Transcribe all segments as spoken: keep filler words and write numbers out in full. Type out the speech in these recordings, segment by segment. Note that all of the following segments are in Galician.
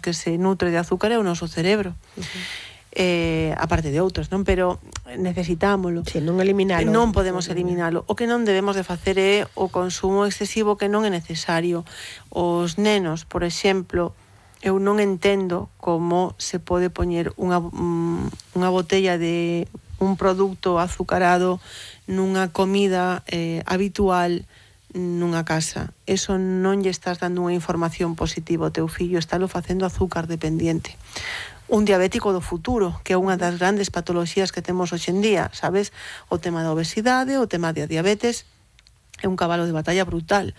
que se nutre de azúcar é o noso cerebro. Uh-huh. Eh, aparte de outros, non? Pero necesitámolo. Si, non eliminalo. Non podemos eliminalo. O que non debemos de facer é o consumo excesivo que non é necesario. Os nenos, por exemplo, eu non entendo como se pode poñer unha, unha botella de un produto azucarado nunha comida eh, habitual nunha casa. Eso non lle estás dando unha información positiva ao teu fillo, estálo facendo azúcar dependiente. Un diabético do futuro, que é unha das grandes patoloxías que temos hoxe en día, sabes? O tema da obesidade, o tema da diabetes, é un cabalo de batalla brutal,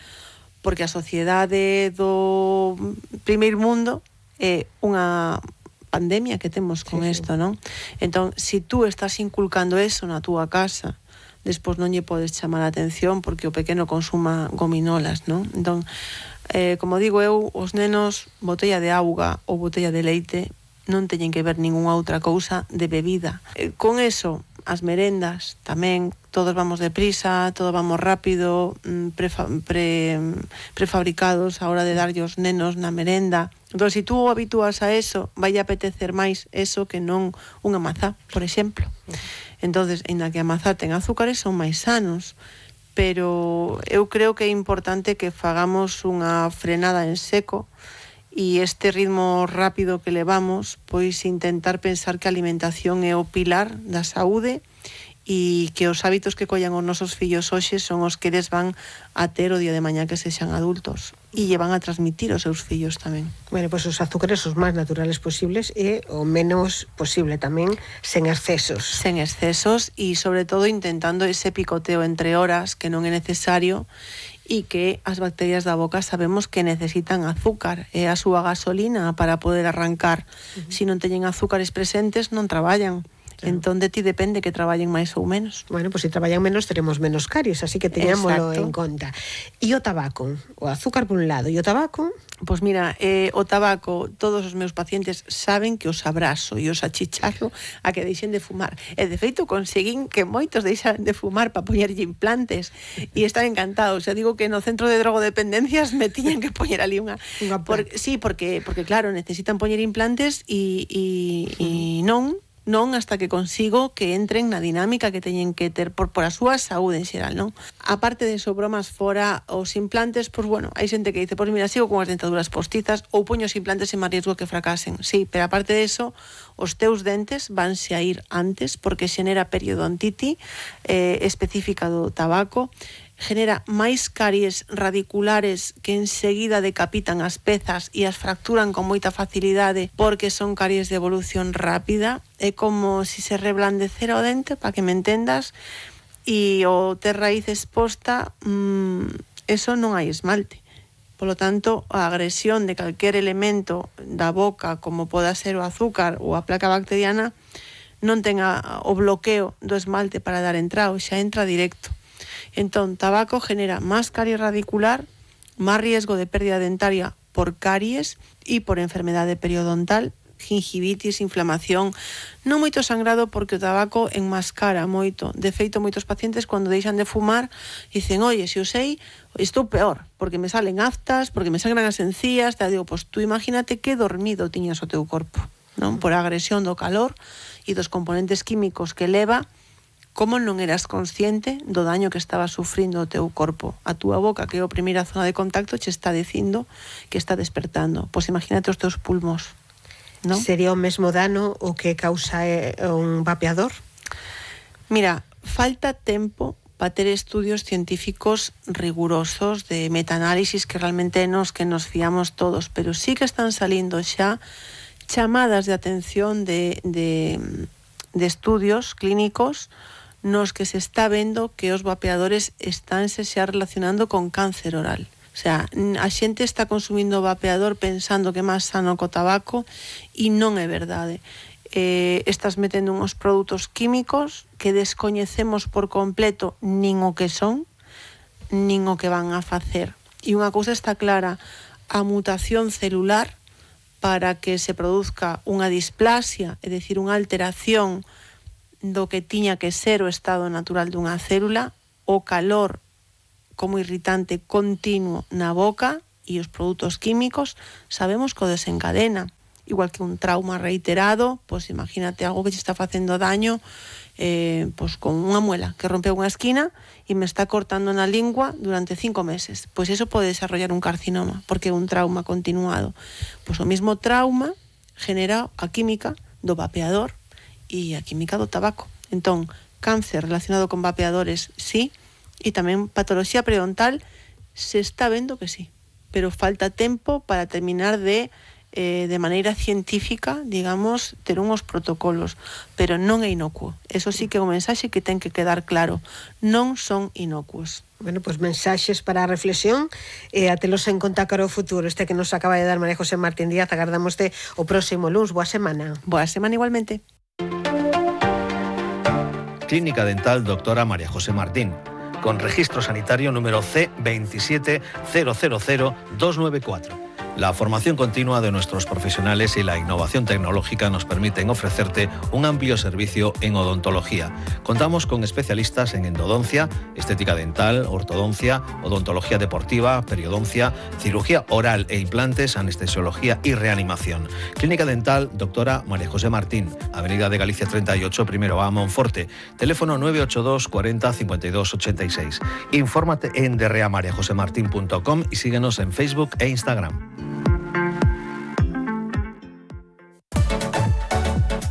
porque a sociedade do primeiro mundo é unha pandemia que temos con sí, isto, sí. Non? Entón, se si tú estás inculcando eso na túa casa, despois non lle podes chamar a atención porque o pequeno consuma gominolas, non? Entón, eh, como digo eu, os nenos, botella de auga ou botella de leite, non teñen que ver ningunha outra cousa de bebida. Eh, con eso, as merendas tamén, todos vamos deprisa, todos vamos rápido, prefa, pre, prefabricados a hora de darlle os nenos na merenda. Entón, se si tú habitúas a eso, vai apetecer máis eso que non unha mazá, por exemplo. Entonces, ainda que a mazá ten azúcares, son máis sanos, pero eu creo que é importante que fagamos unha frenada en seco e este ritmo rápido que levamos, pois intentar pensar que a alimentación é o pilar da saúde e que os hábitos que collan os nosos fillos hoxe son os que eles van a ter o día de mañá que sexan adultos e lle van a transmitir aos seus fillos tamén. Bueno, pois pues os azúcares os máis naturales posibles e o menos posible tamén, sen excesos. Sen excesos e sobre todo intentando ese picoteo entre horas que non é necesario e que as bacterias da boca sabemos que necesitan azúcar, é a súa gasolina para poder arrancar. Uh-huh. Se non teñen azúcares presentes, non traballan. Claro. Entón, de ti depende que traballen máis ou menos. Bueno, pois pues, se traballan menos, teremos menos caries, así que teñámoslo en conta. E o tabaco? O azúcar por un lado, e o tabaco? Pois pues mira, eh, o tabaco, todos os meus pacientes saben que os abrazo e os achicharro a que deixen de fumar. E de feito conseguín que moitos deixaran de fumar para poñerlle implantes e están encantados. Eu digo que no centro de drogodependencias me tiñan que poñer ali unha... unha por, sí, porque, porque claro, necesitan poñer implantes e, e, e non... non hasta que consigo que entren na dinámica que teñen que ter por, por a súa saúde en xeral, non? Aparte de eso, bromas fora, os implantes, pois bueno, hai xente que dice, pois mira, sigo con as dentaduras postizas ou poño os implantes en máis riesgo que fracasen. Sí, pero aparte de eso, os teus dentes vanse a ir antes porque xenera periodontite eh, específica do tabaco, genera máis caries radiculares que enseguida decapitan as pezas e as fracturan con moita facilidade porque son caries de evolución rápida. É como se se reblandecera o dente, para que me entendas, e o ter raíz exposta, mmm, eso non hai esmalte. Polo tanto, a agresión de calquer elemento da boca, como poda ser o azúcar ou a placa bacteriana, non ten a, o bloqueo do esmalte para dar entrada, xa entra directo. Entón, tabaco genera máis caries radicular, máis riesgo de pérdida dentaria por caries e por enfermedade periodontal, gingivitis, inflamación, non moito sangrado porque o tabaco enmascara moito. De feito, moitos pacientes cando deixan de fumar dicen, oye, se o sei, estou peor, porque me salen aftas, porque me sangran as encías, te digo, pois tú imagínate que dormido tiñas o teu corpo, non? Por a agresión do calor e dos componentes químicos que leva. Como non eras consciente do daño que estaba sufrindo o teu corpo? A túa boca, que é a primeira zona de contacto, che está dicindo que está despertando. Pois imagínate os teus pulmos, non? Sería o mesmo dano o que causa un vapeador? Mira, falta tempo para ter estudios científicos rigurosos de metaanálisis que realmente nos que nos fiamos todos, pero sí que están salindo xa chamadas de atención de, de, de estudios clínicos nos que se está vendo que os vapeadores estánse xa relacionando con cáncer oral. O sea, a xente está consumindo vapeador pensando que é máis sano co tabaco e non é verdade. Eh, estás metendo uns produtos químicos que descoñecemos por completo nin o que son, nin o que van a facer. E unha cousa está clara, a mutación celular para que se produzca unha displasia, é dicir, unha alteración do que tiña que ser o estado natural dunha célula, o calor como irritante continuo na boca e os produtos químicos, sabemos que o desencadena. igual que un trauma reiterado, pois imagínate algo que te está facendo daño, eh, pois con unha muela que rompeu unha esquina e me está cortando na lingua durante cinco meses. Pois eso pode desarrollar un carcinoma, porque é un trauma continuado. Pois o mismo trauma genera a química do vapeador e a química do tabaco. Entón, cáncer relacionado con vapeadores, sí, e tamén patoloxía periodontal se está vendo que sí, pero falta tempo para terminar de eh, de maneira científica, digamos, ter unhos protocolos, pero non é inocuo. Eso sí que é un mensaxe que ten que quedar claro. Non son inocuos. Bueno, pois pues mensaxes para a reflexión e eh, a telos en conta cara ao futuro. Este que nos acaba de dar María José Martín Díaz, agardámoste o próximo luns. Boa semana. Boa semana igualmente. Clínica Dental Doctora María José Martín, con registro sanitario número C veintisiete cero cero cero dos nueve cuatro. La formación continua de nuestros profesionales y la innovación tecnológica nos permiten ofrecerte un amplio servicio en odontología. Contamos con especialistas en endodoncia, estética dental, ortodoncia, odontología deportiva, periodoncia, cirugía oral e implantes, anestesiología y reanimación. Clínica Dental Doctora María José Martín, Avenida de Galicia treinta y ocho, primero A, Monforte. Teléfono nueve ocho dos cuarenta cincuenta y dos ochenta y seis. Infórmate en derreamariajosemartin punto com y síguenos en Facebook e Instagram.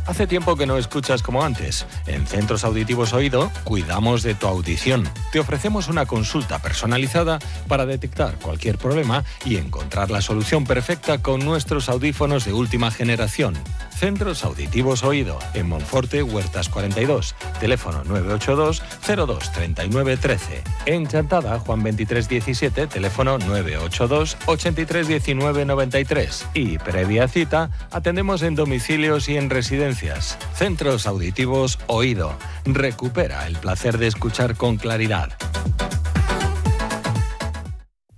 Hace tiempo que no escuchas como antes. En Centros Auditivos Oído cuidamos de tu audición. Te ofrecemos una consulta personalizada para detectar cualquier problema y encontrar la solución perfecta con nuestros audífonos de última generación. Centros Auditivos Oído, en Monforte, Huertas cuarenta y dos. Teléfono nueve ocho dos cero dos treinta y nueve trece. En Chantada, Juan veintitrés diecisiete, teléfono nueve ocho dos ochenta y tres diecinueve noventa y tres. Y previa cita, atendemos en domicilios y en residencias. Centros Auditivos Oído. Recupera el placer de escuchar con claridad.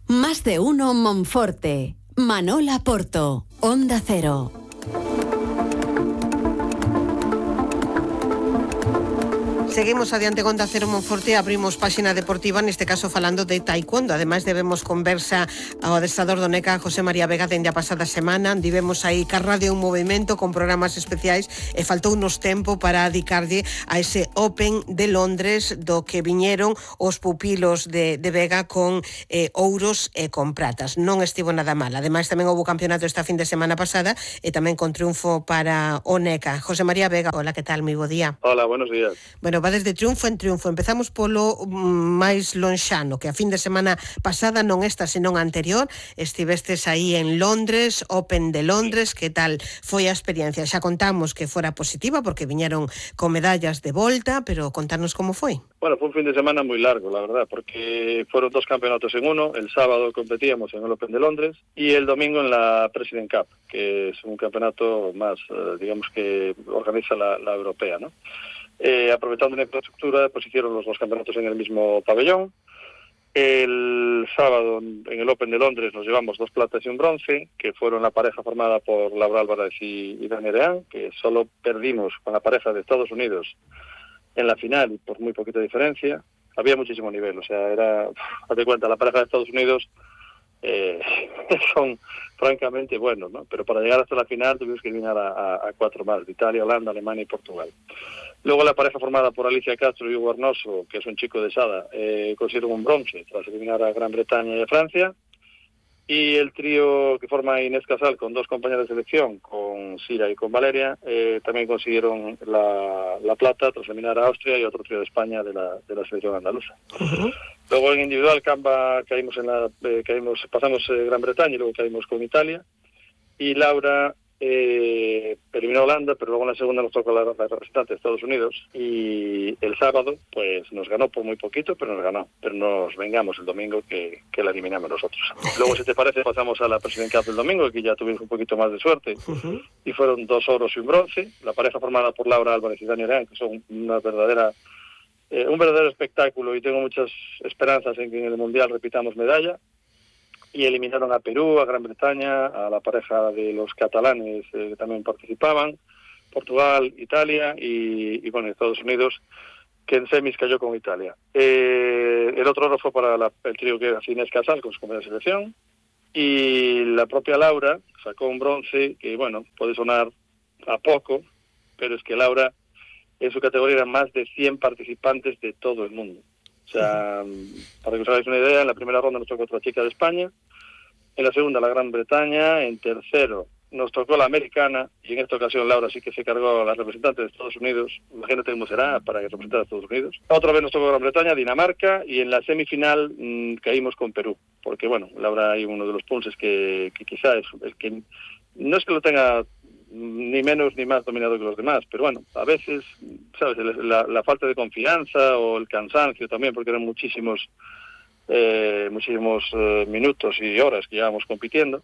Más de uno Monforte. Manola Porto. Onda Cero. Seguimos adiante con Onda Cero Monforte, abrimos páxina deportiva, neste caso falando de taekwondo. Ademais debemos conversa ao adestrador do NECA, José María Vega, dende a pasada semana. Divemos aí ca radio un movimento con programas especiais e faltou unos tempo para dedicarlle a ese Open de Londres do que viñeron os pupilos de, de Vega con eh, ouros e con pratas. Non estivo nada mal. Ademais tamén houve campeonato esta fin de semana pasada e tamén con triunfo para o NECA. José María Vega, hola, que tal? Moi bo día. Hola, buenos días. Bueno, va desde triunfo en triunfo. Empezamos polo máis lonxano, que a fin de semana pasada, non esta, senón anterior, estivestes aí en Londres, Open de Londres. Que tal foi a experiencia? Xa contamos que fora positiva, porque viñeron con medallas de volta, pero contarnos como foi. Bueno, foi un fin de semana moi largo, la verdad, porque foron dos campeonatos en uno. El sábado competíamos en el Open de Londres y el domingo en la President Cup, que es un campeonato más, digamos, que organiza la, la europea, ¿no? Eh, aprovechando la infraestructura, pues hicieron los dos campeonatos en el mismo pabellón. El sábado en el Open de Londres nos llevamos dos platas y un bronce, que fueron la pareja formada por Laura Álvarez y, y Dani Areán, que solo perdimos con la pareja de Estados Unidos en la final y por muy poquita diferencia. Había muchísimo nivel, o sea, era, hazte cuenta, la pareja de Estados Unidos eh, son francamente buenos, ¿no? Pero para llegar hasta la final tuvimos que eliminar a, a, a cuatro más, de Italia, Holanda, Alemania y Portugal. Luego la pareja formada por Alicia Castro y Hugo Arnoso, que es un chico de Sada, eh, consiguieron un bronce tras eliminar a Gran Bretaña y a Francia. Y el trío que forma Inés Casal con dos compañeras de selección, con Sira y con Valeria, eh, también consiguieron la, la plata tras eliminar a Austria y otro trío de España de la, de la selección andaluza. Uh-huh. Luego en individual Camba caímos en la, eh, caímos, pasamos eh, Gran Bretaña y luego caímos con Italia. Y Laura eh, eliminó a Holanda, pero luego en la segunda nos tocó la, la representante de Estados Unidos. Y el sábado pues nos ganó por muy poquito, pero nos ganó. Pero nos vengamos el domingo que, que la eliminamos nosotros. Luego, si te parece, pasamos a la President Cup del domingo, que ya tuvimos un poquito más de suerte. Uh-huh. Y fueron dos oros y un bronce. La pareja formada por Laura Álvarez y Dani Areán, que son una verdadera, eh, un verdadero espectáculo, y tengo muchas esperanzas en que en el Mundial repitamos medalla. Y eliminaron a Perú, a Gran Bretaña, a la pareja de los catalanes eh, que también participaban, Portugal, Italia y, y bueno, Estados Unidos, que en semis cayó con Italia. Eh, el otro oro fue para la, el trío que era Inés Casal con su compañera de selección. Y la propia Laura sacó un bronce que, bueno, puede sonar a poco, pero es que Laura en su categoría eran más de cien participantes de todo el mundo. O sea, para que os hagáis una idea, en la primera ronda nos tocó otra chica de España, en la segunda la Gran Bretaña, en tercero nos tocó la americana, y en esta ocasión Laura sí que se cargó a la representante de Estados Unidos. Imagínate cómo será para representar a Estados Unidos. Otra vez nos tocó Gran Bretaña, Dinamarca, y en la semifinal mmm, caímos con Perú, porque bueno, Laura hay uno de los punches que, que quizá es el que no es que lo tenga ni menos ni más dominado que los demás, pero bueno, a veces, ¿sabes? La, la falta de confianza o el cansancio también, porque eran muchísimos eh, muchísimos eh, minutos y horas que llevábamos compitiendo,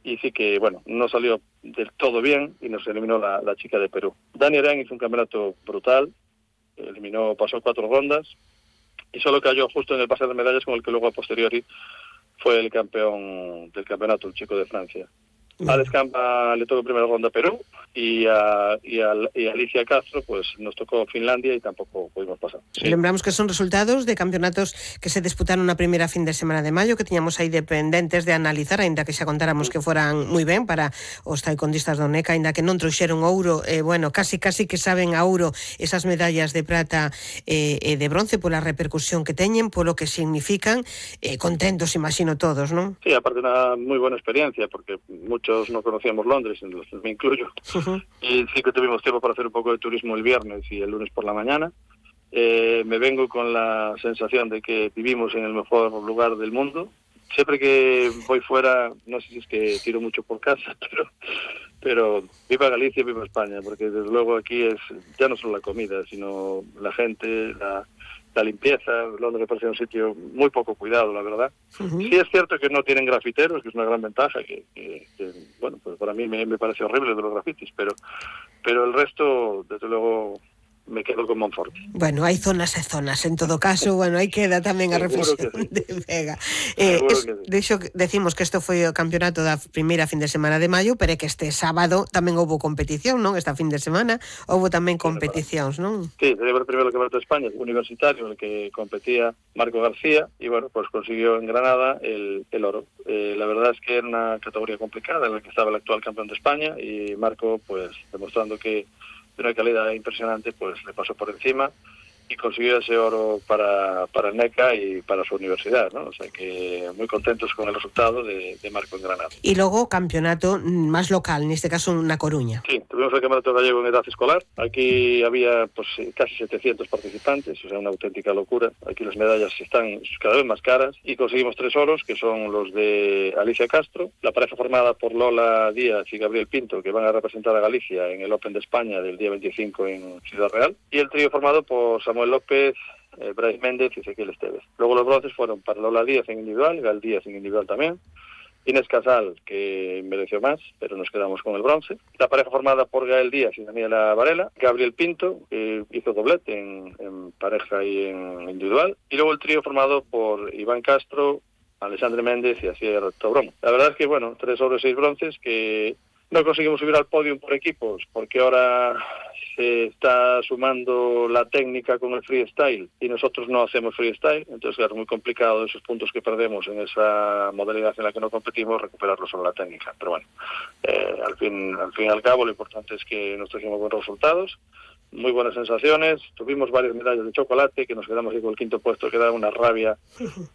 y sí que, bueno, no salió del todo bien y nos eliminó la, la chica de Perú. Dani Arán hizo un campeonato brutal, eliminó, pasó cuatro rondas, y solo cayó justo en el pase de medallas con el que luego a posteriori fue el campeón del campeonato, el chico de Francia. A Alex Campa le tocó primera ronda a Perú y a, y, a, y a Alicia Castro pues nos tocó Finlandia y tampoco pudimos pasar. Sí. Lembramos que son resultados de campeonatos que se disputaron a primeira fin de semana de maio, que tiñamos aí dependentes de analizar, aínda que xa contáramos que foran moi ben para os taekwondistas do NECA, aínda que non trouxeron ouro, eh, bueno, casi casi que saben a ouro esas medallas de prata e eh, de bronce pola repercusión que teñen, polo que significan, eh, contentos, imagino todos, non? Sí, aparte una moi buena experiencia, porque muchos no conocíamos Londres, en los que me incluyo, uh-huh. Y sí que tuvimos tiempo para hacer un poco de turismo el viernes y el lunes por la mañana. Eh, me vengo con la sensación de que vivimos en el mejor lugar del mundo. Siempre que voy fuera, no sé si es que tiro mucho por casa, pero, pero viva Galicia, viva España, porque desde luego aquí es ya no solo la comida, sino la gente, la... la limpieza. Londres me parece un sitio muy poco cuidado, la verdad. Uh-huh. Sí es cierto que no tienen grafiteros, que es una gran ventaja, que, que, que bueno, pues para mí me, me parece horrible de los grafitis, pero, pero el resto, desde luego, me quedo con Monforte. Bueno, hai zonas e zonas, en todo caso, bueno, aí queda tamén a reflexión sí. de Vega. Eh, es, sí. De hecho, decimos que isto foi o campeonato da primeira fin de semana de maio, pero é que este sábado tamén houve competición, non? Esta fin de semana houve tamén competicións, non? Sí, sería o primeiro campeonato de España universitario, en el que competía Marco García, y bueno, pues consiguió en Granada el, el oro. Eh, la verdad es que era una categoría complicada en la que estaba el actual campeón de España, y Marco, pues, demostrando que de una calidad impresionante, pues le pasó por encima y consiguió ese oro para, para el NECA y para su universidad, ¿no? O sea que muy contentos con el resultado de, de Marco en Granada. Y luego campeonato más local, en este caso en La Coruña. Sí, tuvimos el campeonato gallego en edad escolar. Aquí había pues casi setecientos participantes, o sea, una auténtica locura. Aquí las medallas están cada vez más caras y conseguimos tres oros, que son los de Alicia Castro, la pareja formada por Lola Díaz y Gabriel Pinto, que van a representar a Galicia en el Open de España del día veinticinco en Ciudad Real, y el trío formado por Samuel López, eh, Bryce Méndez y Ezequiel Esteves. Luego los bronces fueron para Lola Díaz en individual, Gal Díaz en individual también, Inés Casal, que mereció más, pero nos quedamos con el bronce. La pareja formada por Gael Díaz y Daniela Varela, Gabriel Pinto, que hizo doblete en, en pareja y en individual, y luego el trío formado por Iván Castro, Alexandre Méndez y Asier Tobrón. La verdad es que, bueno, tres oros y seis bronces que no conseguimos subir al podio por equipos, porque ahora se está sumando la técnica con el freestyle y nosotros no hacemos freestyle, entonces claro, es muy complicado esos puntos que perdemos en esa modalidad en la que no competimos, recuperarlos sobre la técnica. Pero bueno, eh, al fin al fin y al cabo lo importante es que nos trajimos buenos resultados, muy buenas sensaciones, tuvimos varias medallas de chocolate, que nos quedamos ahí con el quinto puesto, que da una rabia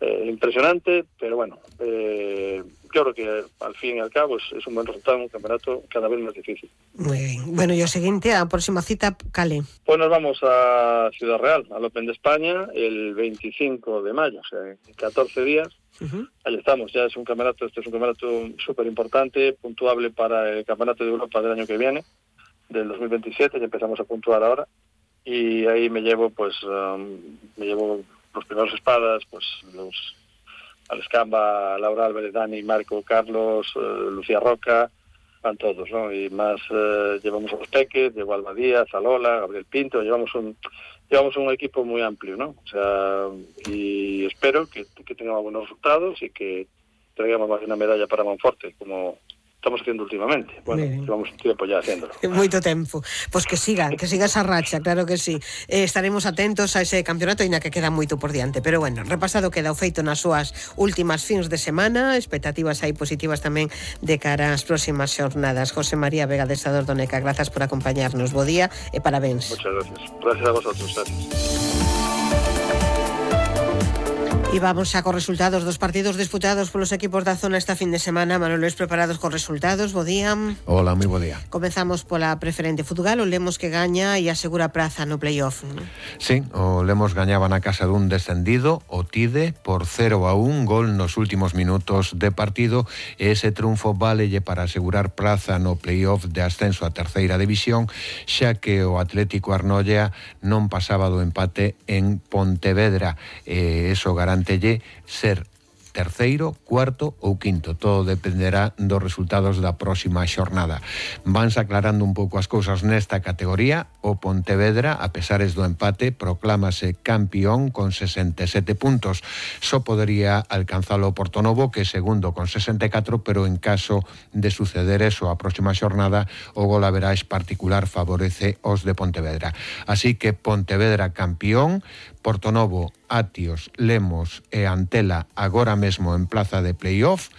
eh, impresionante, pero bueno, eh, yo creo que al fin y al cabo es, es un buen resultado, un campeonato cada vez más difícil. Muy bien. Bueno, y o seguinte, a próxima cita, cale? Pues nos vamos a Ciudad Real, al Open de España, el veinticinco de mayo, o sea, en catorce días. Uh-huh. Ahí estamos, ya es un campeonato, este es un campeonato súper importante, puntuable para el Campeonato de Europa del año que viene, del dos mil veintisiete, ya empezamos a puntuar ahora, y ahí me llevo, pues, um, me llevo los primeros espadas, pues, los Alex Camba, Laura Álvarez, Dani, Marco, Carlos, uh, Lucía Roca, van todos, ¿no? Y más uh, llevamos a los peques, llevo a Alba Díaz, a Lola, Gabriel Pinto, llevamos un llevamos un equipo muy amplio, ¿no? O sea, y espero que, que tengamos buenos resultados y que traigamos más de una medalla para Monforte, como estamos haciendo últimamente. Bueno, Bien. llevamos un tiempo ya haciéndolo. Moito tempo. Pois que siga, que siga esa racha, claro que sí. Eh, estaremos atentos a ese campeonato, ainda que queda moito por diante. Pero bueno, repasado queda o feito nas súas últimas fins de semana, expectativas aí positivas tamén de cara ás próximas xornadas. José María Vega, adestrador do Neca, grazas por acompañarnos. Bo día e parabéns. Muchas gracias. Gracias a vosotros. Gracias. E vamos xa cos resultados dos partidos disputados polos equipos da zona esta fin de semana. Manoles, preparados cos resultados, bo día. Hola, moi bo día. Comezamos pola preferente Futgal, o Lemos que gaña e asegura praza no playoff. Sí, o Lemos gañaba na casa dun descendido, o Tide, por cero a un, gol nos últimos minutos de partido, e ese triunfo válelle para asegurar praza no playoff de ascenso a terceira división, xa que o Atlético Arnolla non pasaba do empate en Pontevedra, e eso garante ser terceiro, cuarto ou quinto. Todo dependerá dos resultados da próxima xornada. Vanse aclarando un pouco as cousas nesta categoría. O Pontevedra, a pesares do empate, proclámase campeón con sesenta e sete puntos. Só podería alcanzalo o Portonovo, que é segundo con sesenta e catro, pero en caso de suceder eso a próxima xornada, o golaverage particular favorece os de Pontevedra. Así que Pontevedra campeón, Portonovo, Atios, Lemos e Antela agora mesmo en plaza de playoff,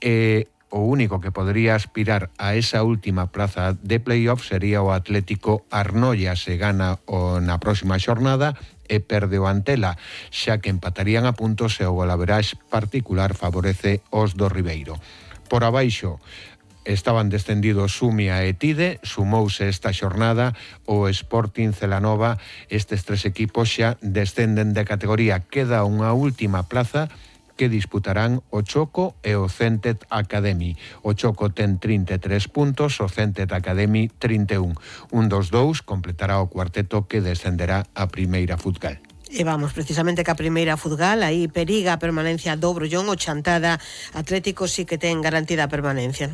e o único que podría aspirar a esa última plaza de playoff sería o Atlético Arnolla, se gana o na próxima xornada e perde o Antela, xa que empatarían a puntos e o golaverage particular favorece os do Ribeiro. Por abaixo estaban descendidos Sumia e Tide, sumouse esta xornada o Sporting Celanova. Estes tres equipos xa descenden de categoría. Queda unha última plaza que disputarán o Choco e o Centet Academy. O Choco ten trinta e tres puntos, o Centet Academy trinta e un. Un dos dous completará o cuarteto que descenderá a primeira Futgal. E vamos precisamente ca primeira Futgal, aí periga a permanencia do Brollón, o Chantada Atlético sí que ten garantida a permanencia.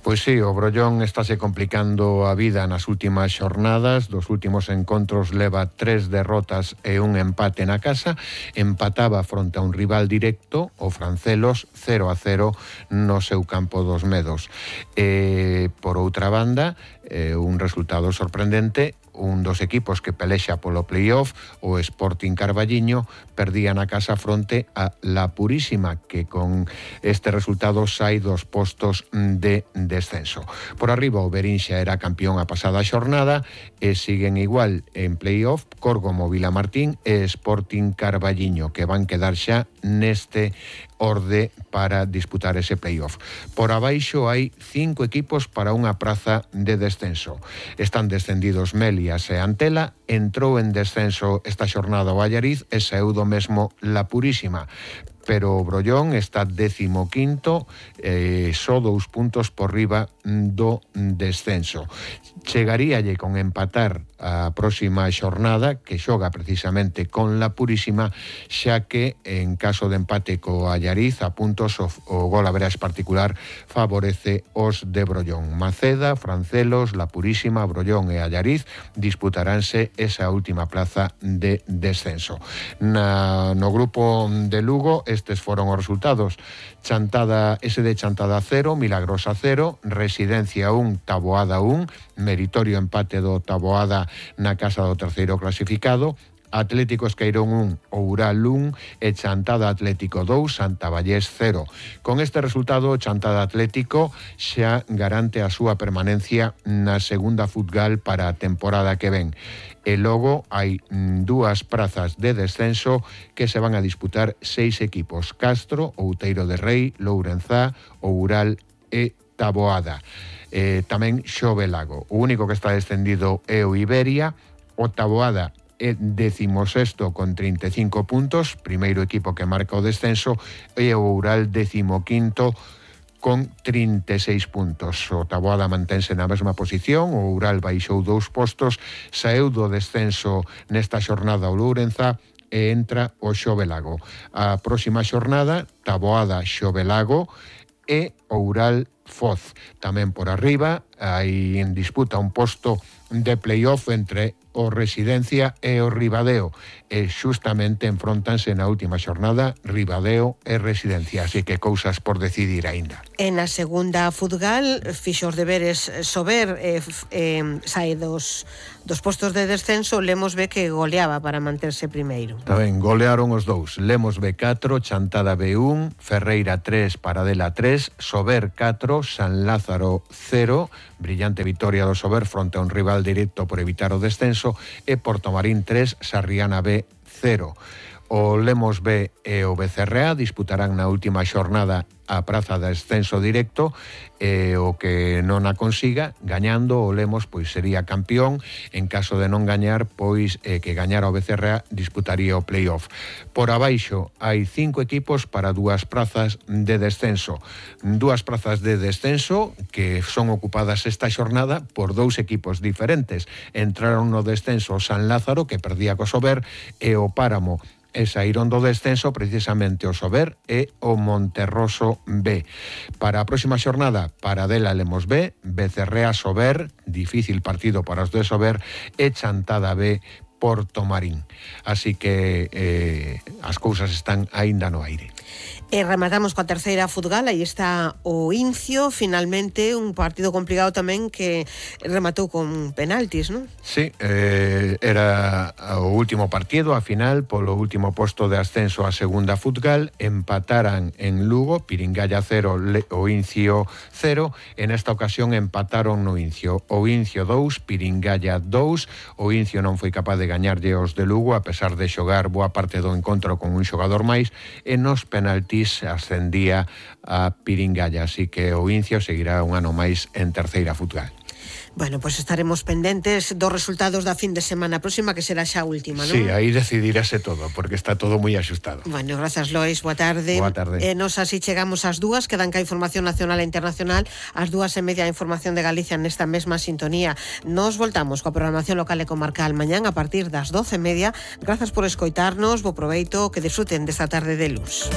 Pois sí, o Brollón estáse complicando a vida nas últimas xornadas. Dos últimos encontros leva tres derrotas e un empate na casa. Empataba fronte a un rival directo, o Francelos, cero a cero no seu campo dos Medos. E, por outra banda, eh, un resultado sorprendente, un dos equipos que pelexa polo playoff, o Sporting Carballiño, perdía na casa fronte a La Purísima, que con este resultado sai dos postos de descenso. Por arriba, o Berinxa era campeón a pasada xornada e siguen igual en playoff Córgomo, Vilamartín e Sporting Carballiño, que van quedar xa neste orde para disputar ese playoff. Por abaixo hai cinco equipos para unha praza de descenso. Están descendidos Melias e Antela, entrou en descenso esta xornada o Allariz e saeu do mesmo La Purísima. Pero o Brollón está décimo quinto, eh, só dous puntos por riba do descenso. Chegaríalle con empatar a próxima xornada, que xoga precisamente con La Purísima, xa que en caso de empate co Allariz a puntos o, o golaverage particular favorece os de Brollón. Maceda, Francelos, La Purísima, Brollón e Allariz disputaránse esa última plaza de descenso. Na, no grupo de Lugo, estes foron os resultados. Chantada, S D Chantada cero, Milagrosa cero, Residencia un, Taboada un, meritorio empate do Taboada na casa do terceiro clasificado, Atlético Esqueirón un, Oural un e Chantada Atlético dous, Santa Vallés cero. Con este resultado, Chantada Atlético xa garante a súa permanencia na segunda Futgal para a temporada que ven. E logo hai dúas prazas de descenso que se van a disputar seis equipos: Castro, Outeiro de Rei, Lourenzá, Oural e Taboada. Eh, tamén Xovelago. O único que está descendido é o Iberia. O Taboada é décimo sexto con trinta e cinco puntos, primeiro equipo que marca o descenso, e o Oural décimo quinto con trinta e seis puntos. O Taboada mantense na mesma posición, o Oural baixou dous postos, saeu do descenso nesta xornada o Lourenza e entra o Xovelago. A próxima xornada, Taboada, Xovelago e Oural Foz. Tamén por arriba hai en disputa un posto de playoff entre o Residencia e o Ribadeo, e xustamente enfróntanse na última xornada Ribadeo e Residencia, así que cousas por decidir aínda. En a segunda Futgal, fixo os deberes Sober, eh, eh, sai dos, dos postos de descenso, Lemos ve que goleaba para manterse primeiro. Tamén golearon os dous, Lemos B catro, Chantada B un, Ferreira tres, Paradela tres, Sober catro, San Lázaro cero, brillante vitoria do Sober fronte a un rival directo por evitar o descenso, e Portomarín tres, Sarriana B cero. O Lemos B e o B C R A disputarán na última xornada a praza de ascenso directo, e o que non a consiga, gañando o Lemos, pois sería campeón. En caso de non gañar, pois eh, que gañara o B C R A disputaría o playoff. Por abaixo hai cinco equipos para dúas prazas de descenso. Dúas prazas de descenso que son ocupadas esta xornada por dous equipos diferentes. Entraron no descenso o San Lázaro, que perdía co Sober, e o Páramo, e saíron do descenso precisamente o Sober e o Monterroso B. Para a próxima xornada, Paradela Lemos B, B C R A Sober, difícil partido para os de Sober, e Chantada B Portomarín. Así que eh, as cousas están aínda no aire. E rematamos coa terceira Futgal, aí está o Incio, finalmente un partido complicado tamén que rematou con penaltis, non? Sí, eh, era o último partido, a final, polo último posto de ascenso a segunda Futgal, empataran en Lugo, Piringalla cero, o Incio cero, en esta ocasión empataron no Incio, o Incio dous, Piringalla dous, o Incio non foi capaz de gañarlle os de Lugo, a pesar de xogar boa parte do encontro con un xogador máis, e nos penaltis ascendía a Piringalla, así que o Incio seguirá un ano máis en terceira Futgal. Bueno, pois pues estaremos pendentes dos resultados da fin de semana próxima, que será xa a última, non? Sí, aí decidirase todo, porque está todo moi axustado. Bueno, grazas, Lois, boa tarde. Boa tarde. E nos así chegamos ás dúas, quedan ca información nacional e internacional, ás dúas e media a información de Galicia nesta mesma sintonía. Nos voltamos coa programación local e comarcal mañán a partir das doce e media. Grazas por escoitarnos, bo proveito, que disfruten desta tarde de luz.